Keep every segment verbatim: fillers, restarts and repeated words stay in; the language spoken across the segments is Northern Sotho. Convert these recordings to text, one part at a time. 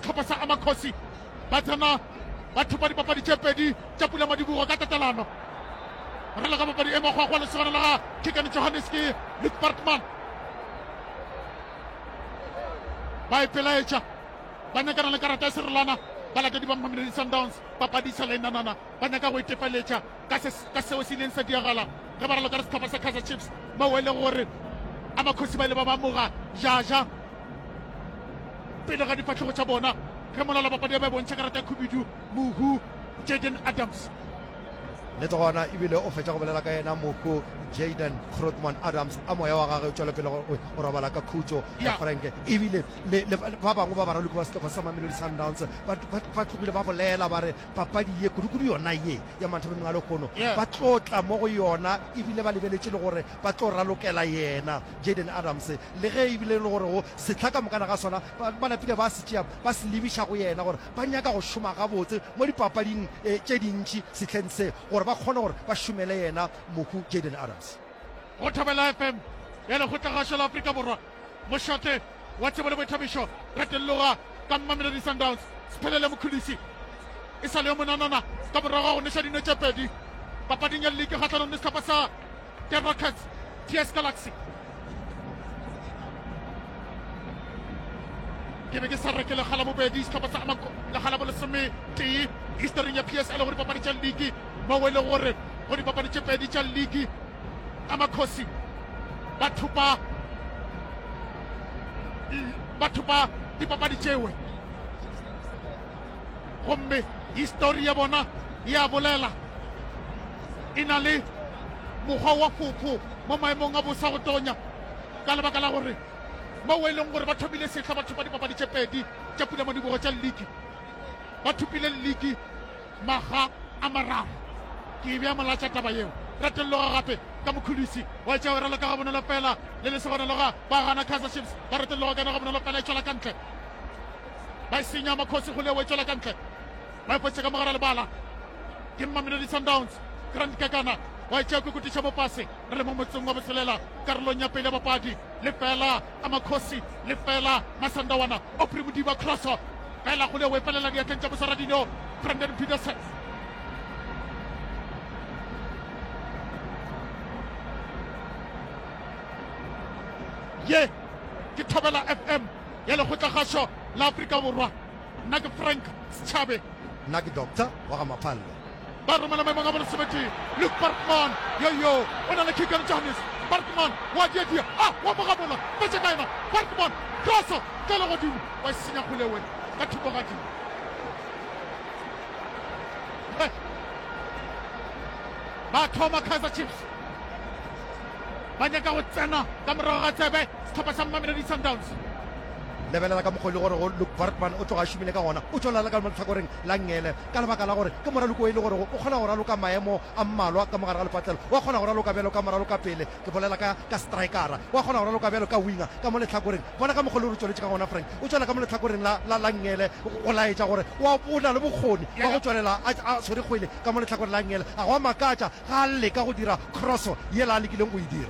Sehlopha sa Amakhosi ba tsena ba thopa dipapadi tše pedi tša pulamadibogo ka tatelano. Raloka papadi e makgwakgwa lesogana la ga Keegan Johannes ke Luke Bartman. Ba ipelaetša ba nyakana le karata ya serolwana balatedi ba Mamelodi Sundowns. Papadi e sa le nanana, ba nyaka go itefeletša ka se ka seo se ileng sa diagala ge ba raloka le sehlopha sa Kaizer Chiefs moo e lego gore Amakhosi ba ile ba ba amoga Jaja pele ga difahlego tša bona ge molala papadi ya ba e bontšha karata ya khubidu mohu Jaden Adams. Nnete gona ebile o fetša go bolela ka yena mohu Jaden Grootman Adams a moya wa gagwe o tšwela pele go robala ka khutšo Ya. Frank ebile le, le ba bangwe ba baraloki ba sehlopha sa Mamelodi Sundowns ba, ba, ba tlogile ba bolela ba re papadi ye kudu-kudu yona ye ya manthabeng a lehono Yeah. ba tlo tla mo go yona ebile ba lebeletše le gore ba tlo ralokela yena Jaden Adams le ge ebile e le gore go sehla ka mokana ga sona ba, ba napile ba se tšea ba se lebiša go yena gore ba nyaka go šoma gabotse mo dipapading eh, tše dintši sehleng se gore ba kgone gore ba šomele yena mohu Jaden Adams. Go Thobela F M ya Lekgotlagašo la Afrika Borwa, mošate wa tsebo le boithabišo, retelloga ka Mamelodi Sundowns. Sphelele Mkhulisi e sa le yo monanana ka morago ga go neša dino tše pedi papading ya ligi kgahlanong le sehlopha sa The Rockets T S Galaxy. Ke be ke sa reke lekga la bobedi sehlopha sa lekga la bolesometee historing ya P S L go dipapadi tša ligi moo e lego gore go dipapadi tše pedi tša ligi Amakhosi ba thopa ba thopa dipapadi tšewe gomme histori ya bona ya bolela e na le mokgwa wa fofo mo maemong a bosa go tonya ka lebaka la gore moo e leng gore ba thomile sehla ba thopa dipapadi tše pedi tša pulamadibogo tša ligi ba thopile ligi makga a mararo. Ke e bea molatša taba yeo. Retelloga gape ka Mokhudusi wa tšea o raloka gabonolo fela le lesogana loga ba gana Kaizer Chiefs ba retelloga ka yona gabonolo fela e tšwela ka ntle ba e senya Makhosi go leo e tšwela ka ntle ba e fetša ka mogara lebala ke Mamelodi Sundowns Grant Kekana wa e tšea kokotiša mo fase re le mo motseng wa botshelela karolong ya pele ya papadi lefela Amakhosi lefela Masandawana Aubrey Modiba crosso fela go leo e felela diatleng tša moswaradino Brandon Petersen. Ye ke Thobela F M ya Lekgotlakgašo la Afrika Borwa. Nna ke Frank Setšhabe. Nna ke Doctor wa ga Maphalle. Ba romela maemong a bolesometee Luke Bartman yo yo o na le Keegan Johannes. Bartman wa diadia a wa mogamola fetša ka yena Bartman crosso tlele godimo wa e senya kgolewe ka thokogadi. Ba thoma Kaizer Chiefs ba nyaka go tsena ka morago ga tsebe sehlopha sa Mamelodi Sundowns. Lebelela ka mokgwa e le gore go Luke Bartman o tloga a šomile ka gona, o tšwelela ka mo lehlakoreng la nngele ka lebaka la gore ke moraloko o e le gore o kgona go raloka maemo a mmalwa ka mo gare ga lepatlelo, wa kgona go raloka bjalo ka moraloka pele, ke bolela ka ka strikera, wa kgona go raloka bjalo ka winger ka mo lehlakoreng. Bona ka mokgwa e le gore o tšweletše ka gona Frank, o tšwela ka mo lehlakoreng la la la nngele go laetša gore wa o na le bokgoni wa go tšwelela a a swere kgwele ka mo lehlakoreng la nngele. A go a makatša ga a leka go dira crosso yela a lekileng go e dira.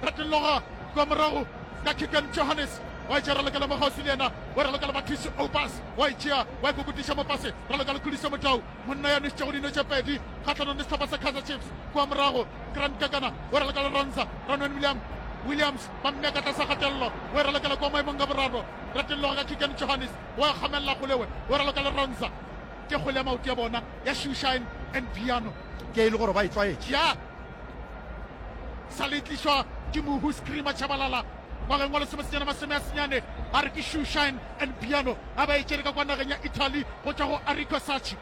Retelloga kua morago ka Keegan Johannes wa e tšea ralokela mo kgauswi le yena wa ralokela Mathusi Oupas wa e tšea wa e kokotiša mo fase raloka le Khuliso Motau monna ya nwešitšego dino tše pedi kgahlanong le sehlopha sa Kaizer Chiefs kua morago Grant Kekana wa raloka le Ronza Ronwen William Williams ba mmea ka tlasa kgatelelo wa e ralokela kua maemong ka boraro retelloga ka Keegan Johannes wa e kgamelela kgolewe wa raloka le Ronza ke kgole ya maoto ya bona ya Shoeshine and Piano ke e le gore ba e tlwaetše ya sa le tlišwa ke mohu Screamer Tshabalala ngwageng wa lesomesenyane masome a senyane a re ke Shoeshine and Piano a ba e tšere ka kwa nageng ya Italy go tšwa go Arrigo Sacchi.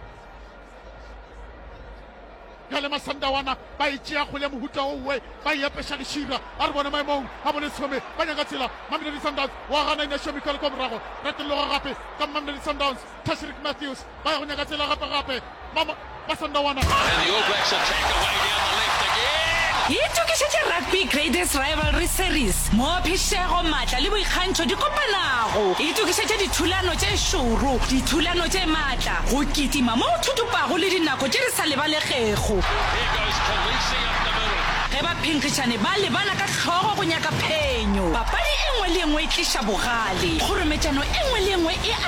Bjale Masandawana ba e tšea kgole ya mohuta owe ba e apeša lešira a re bone maemong a bolesome ba nyaka tsela Mamelodi Sundowns wa gana Inacio Mikel kwa morago retelloga gape ka Mamelodi Sundowns Tashreeq Matthews ba ya go nyaka tsela gape gape Mama Masandawana. And the All Blacks attack away down the left again. Itokišetše Rugby Greatest Rivalry Series, moo phišego, maatla le boikgantšho di kopanago. Itokišetše dithulano tše šoro, dithulano tše maatla, go kitima mo go thuthupago le dinako tše di sa lebalegego. Here goes Kolisi up the middle. Ge baphenkgišani ba lebana ka hlogo go nyaka phenyo, papadi e nngwe le e nngwe e tliša bogale, kgorometšano e nngwe le e nngwe e a